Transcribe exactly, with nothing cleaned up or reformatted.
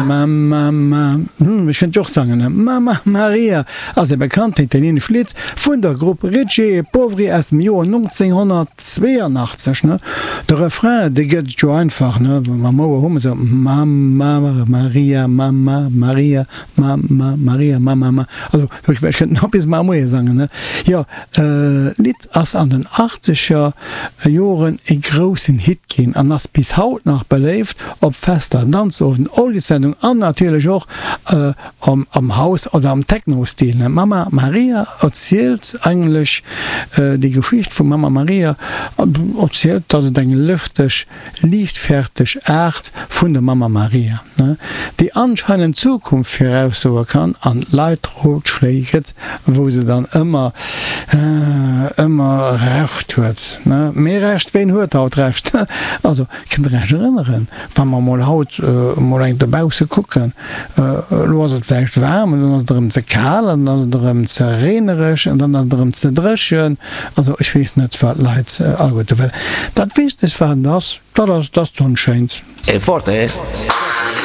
Mamma, ma, hm, ech kënnt jo och sangen, ne? Mamma Maria ass e bekannten italienescht Lidd vun der Grupp Ricchi e Poveri aus dem Joer nonzénghonnertzweeanachtzeg, ne? De Refrain, dee gëtt et jo einfach, ne? Mam Ouer hu mer se, Mamma Maria, Mamma Maria, Mamma Maria, Mamma, ma. Also, ech kënnt nach bis mar Moie sangen, ne? Jo, d'Lidd ass an den achtzeger Joren e groussen Hit ginn an ass bis haut nach beléift op Fester, Danzowenden, Oldiessendungen an natierlech och am House oder am Techno-Stil. Mamma Maria erzielt eigentlech déi Geschicht vum Mamma Maria, erzielt, dass et eng lëfteg, liichtfäerteg Aart vun der Mamma Maria, déi anscheinend d'Zukunft viraussoe kann an d'Leit Rotschléi gëtt, wou se dann ëmmer, ëmmer Recht huet. Mee Recht, ween huet haut Recht? Also, kënnt Der Iech erënneren, wa mer emol haut emol eng dobausse kucken, elo ass et vläicht waarm an dann ass et erëm ze kal an dann ass et erëm ze reenereg an dann ass et erëm ze dréchen. Also, ech weess net, wat d'Leit alleguerte wëllen. Dat Wichtegst, wat et ass, dat ass, dass d'Sonn schéint. E forte, eh?